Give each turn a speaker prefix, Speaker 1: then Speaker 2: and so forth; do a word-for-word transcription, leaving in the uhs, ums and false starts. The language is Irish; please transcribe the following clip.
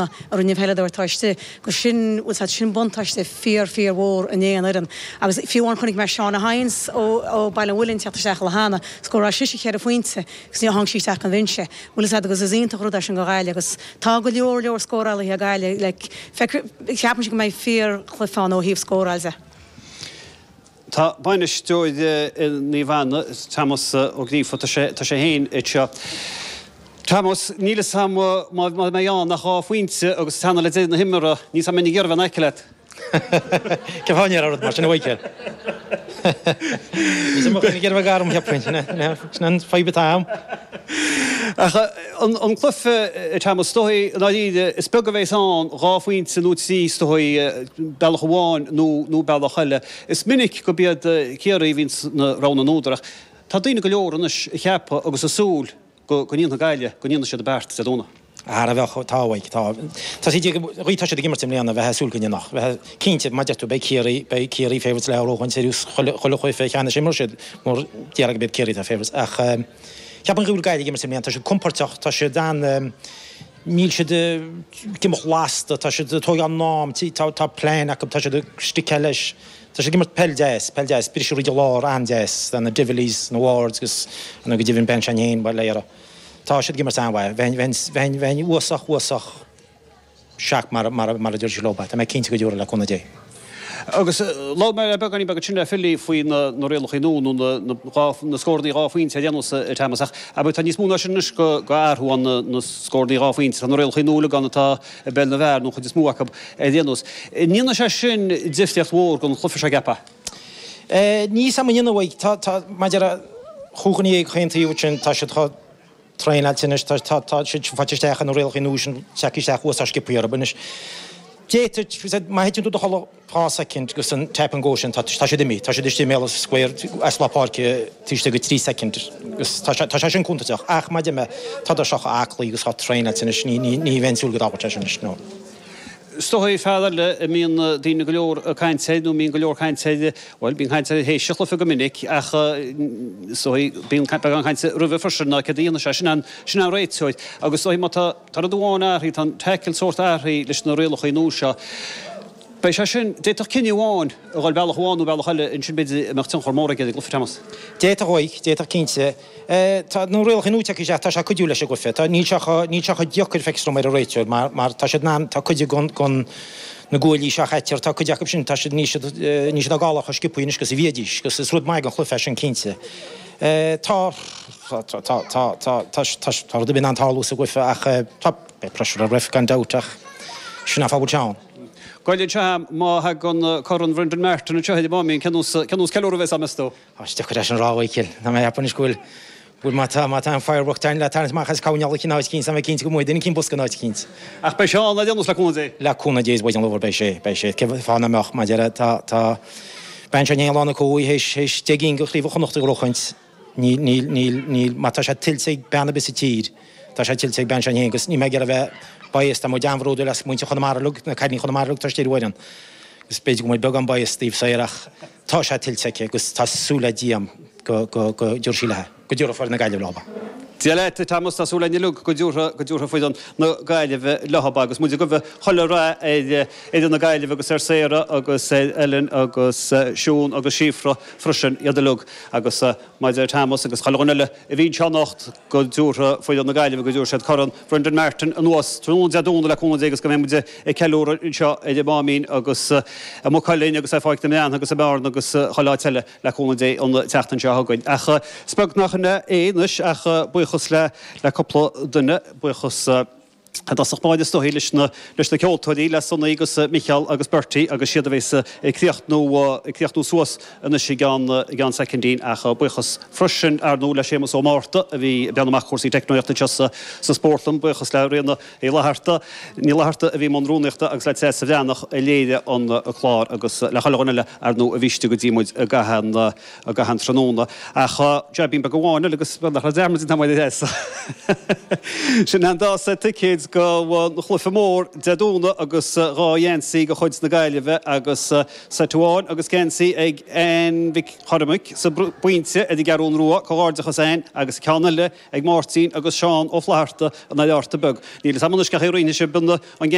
Speaker 1: A rinne peileadóir atá istigh, agus sin, bhfuil 's sin buntáiste fíor fíor mhór in aon fhoireann. Agus fiú amháin chonaic mé Shauna Hines ó ó Baile an Mhuilinn teacht isteach le hAnna, scóráil sise ceithre phointe agus níor tháinig sí isteach an bhinse. Bhfuil 's agus is iontach rud é sin go Gaillimh agus tá go leor leor scórálaithe ag Gaillimh, like, ceapaim go mbeidh fíor chluiche ann ó thaobh scóráil de.
Speaker 2: Tá bainisteoir Naomh Anna, Tomás Ó Gríofa, tá sé tá sé féin anseo. Tomás, níl a fhios agam má mbeidh ann ach dhá phointe agus teannadh le deireadh na himeartha, níl a fhios agam an mbeinn ag iarraidh bheith in aice leat.
Speaker 3: Cén fáth a ndéarfá rud mar sin, a Mhichael? Níl mé ag iarraidh bheith gar dom, cheapfainn. Sin an fadhb atá agam.
Speaker 2: Ach an cluiche, Tomás, is dóigh, i ndáiríre, is beag a bheas ann, dhá phointe nó trí, is dóigh, bealach amháin nó bealach eile. Is minic gurb iad Ciarraí a bhíonn sna rogha na n-údar ach tá daoine go leor anois ag ceapadh agus ag súil go ndéanfaidh Gaillimh, go ndéanfaidh siad an beart Dé Domhnaigh.
Speaker 3: Thar a bheith, tá uaidh, tá. Tá siad ag, ghaoth, tá siad ag imirt i mbliana, bheith ag súil go ndéanfadh, bheith cinnte, mar deir tú, beidh Ciarraí, beidh Ciarraí favourites le róghaint ar thús chuile, chuile chluiche cheannais imreoidh siad, mar déarfá go mb'iad Ciarraí atá favourites. Ach ceapaim go bhfuil Gaillimh ag imirt i mbliana, tá siad compóirteach, tá siad an, níl siad ag imeacht lasta, tá siad ag tógáil a n-am, tá, tá plean acu, tá siad ag stickeáil leis. Tá siad ag imirt peil deas, peil deas, briseadh fríd an lár an-deas, tá na Divilys, na Wards agus nó go deimhin Ben Sean féin, bhuel, léire. Tá siad ag imirt an-mhaith. Bheinn, bheinn, bheinn, bheinn uafásach, uafásach shocked mar, mar, mar a deir siad leo. Tá mé cinnte go dtiúrfaidh le cúnamh Dé.
Speaker 2: Agus labhair mé le beagáinín beag ansin le Philly faoi na, na rialacha nua nó na, na, dhá, na scóranna dhá phointe ar aon nós, a Thomas, ach abair tá níos mó ná sin anois go, go athrú ann na, na scóranna dhá phointe. Tá na rialacha nua uilig ann atá i bpeil na bhfear nó an chuid is mó acu ar aon nós. An ndéanfaidh sé sin difríocht mhór don chluiche seo, ceapfá?
Speaker 3: Níl a fhios agam an ndéanfaidh. Tá, tá, maidir le chúig dhuine dhéag chaon taobh sin, tá siad chomh traenáilte anois, tá, tá, tá siad faighte isteach ar na rialacha nua sin, tagtha isteach uafásach sciobtha orthu anois. D'fhéadfadh, má thiteann tú i do chodladh dhá soicind agus an tap and go sin, tá, tá siad imithe, tá siad istigh i mbéal an square as lár páirce taobh istigh de trí soicind agus tá sé, tá sé sin contúirteach. Ach mar a deir mé, tá siad chomh aclaí agus chomh traenáilte anois, ní, ní, ní bheinn ag súil go dtarlódh sé sin anois, no.
Speaker 2: Is dóigh fear eile a mbíonn daoine go leor ag caint air nó mbíonn go leor cainte air, bhuel, bíonn caint air théis an chluiche go minic ach is dóigh bíonn beagán cainte roimhe freisin ná céard a dhéanfaidh sé. Sin an, sin an réiteoir. Agus is dóigh má tá, tá rud amháin athraithe, tá an tackle sórt athraithe leis na rialacha nua seo. Beidh sé sin, d'fhéadfadh cinneadh amháin a dhul bealach amháin nó bealach eile ansin b'fhéidir a mbeadh tionchar mór aige ar an gcluiche, Thomas.
Speaker 3: D'fhéadfadh uaidh, d'fhéadfadh cinnte. Tá na rialacha nua tagtha isteach, tá sé ag cuidiú leis an gcluiche. Tá, níl sé chomh, níl sé chomh deacair feictear dom ar an réiteoir mar, mar tá siad in ann, tá cuid den, den, na guaillí seo a chaitear, tá cuid acu sin, tá siad, níl siad, níl siad á gabháil chomh sciobtha anois agus a bhídís, agus is rud maith don chluiche é sin cinnte. Tá, tá, tá, tá, tá, tá, tá, tá rud ar bith in ann tarlú sa gcluiche ach tá, beidh pressure ar ref gan dabht ach sin an fáth a bhfuil sé ann.
Speaker 2: Goil anseo a'm, má thagann Corn Brendan Martin anseo ar an Máimín, cén nós, cén nós ceiliúradh a bheas a'm, meas tú?
Speaker 3: Tá sé deacair é sin a rá, a Mhichíl. Tá mé ag ceapadh anois go bhfuil, go bhfuil má tá, má tá an firework le tarraingt amach as coirnéal in áit eicínt, tá mé cinnte go mbeidh duine eicínt bosca in áit eicínt.
Speaker 2: Ach beidh sé ann ar aon nós, le cúnamh Dé.
Speaker 3: Le cúnamh Dé is buidéal an lobhar, beidh sé, beidh sé. Cén fáth nach mbeadh, mar a déarfá, tá, tá bean seo i ndiaidh lá na cumhaidh théis, théis deich gcinn de Chraobh Chonnacht a ghnóchaint. Níl, níl, níl, níl, má tá sé tuillte ag bean ar bith sa tír, tá sé tuillte ag bean seo féin agus níl mé ag iarraidh a bheith biased, tá muid an-bhródúil as muintir Chonamara uilig, na cailíní Chonamara uilig, tá siad ar an bhfoireann agus b'fhéidir go bhfuil beagán bias taobh soir ach tá sé tuillte aici agus tá súil le Dia agam go, go, go dtiúrfaidh sí léi, go dtiúrfaidh foireann na Gaillimhe leo.
Speaker 2: Dia leat, a Thomas, tá súil againn uilig go dtiúrfaidh, go dtiúrfaidh foireann na Gaillimhe leo agus muid ag guí chuile rath ar fhoireann na Gaillimhe agus ar Sarah agus ar Ellen agus Siún agus Síofra freisin, iad uilig agus mar a deir Thomas agus chuile dhuine eile a bhí anseo anocht go dtiúrfaidh foireann na Gaillimhe, go dtiúrfaidh siad Corn Brendan Martin anuas tráthnóna Dé Domhnaigh le cúnamh Dé agus go mbeidh muid ag ceiliúradh anseo ar an Máimín agus i Maigh Cuilinn agus ar Pháirc na mBreann agus i mBearna agus chuile áit eile le cúnamh Dé an tseachtain seo chugainn. Ach is beag nach in é anois ach buíochas le le cúpla duine, buíochas i dtosach báire is dóigh leis na leis na ceoltóirí, le Sonaí agus Micheál agus Bertie agus siad a bheas ag críochnú ag críochnú suas anois i gceann i gceann soicindín ach buíochas freisin ar ndóigh le Séamus Ó Márta a bhí ag breathnú amach cúrsaí teicneolaíochta anseo sa sa spórtlann, buíochas le Ríona Uí Fhlatharta, Ní Fhlatharta a bhí i mbun rúnaíochta agus le Treasa Bhreathnach a léirigh an clár agus le chuile dhuine eile ar ndóigh a bhí istigh go dtí muid i gcaitheamh an i gcaitheamh an tráthnóna. Ach jaibín beag amháin eile agus beag nach raibh dearmad déanta agam ar a Threasa. Sin an dá seit ticéid go an chluiche mór Dé Domhnaigh agus dhá gheansaí de chuid na Gaillimhe agus seit amháin agus geansaí ag Ann Mhic Chormaic sa bPointe ar an gCeathrú Rua, comhghairdeachas Ann agus ceann eile ag Máirtín agus Seán Ó Flatharta an Oileárta Beag. Níl a fhios agam anois cén chaoi a roinnfidh sibh an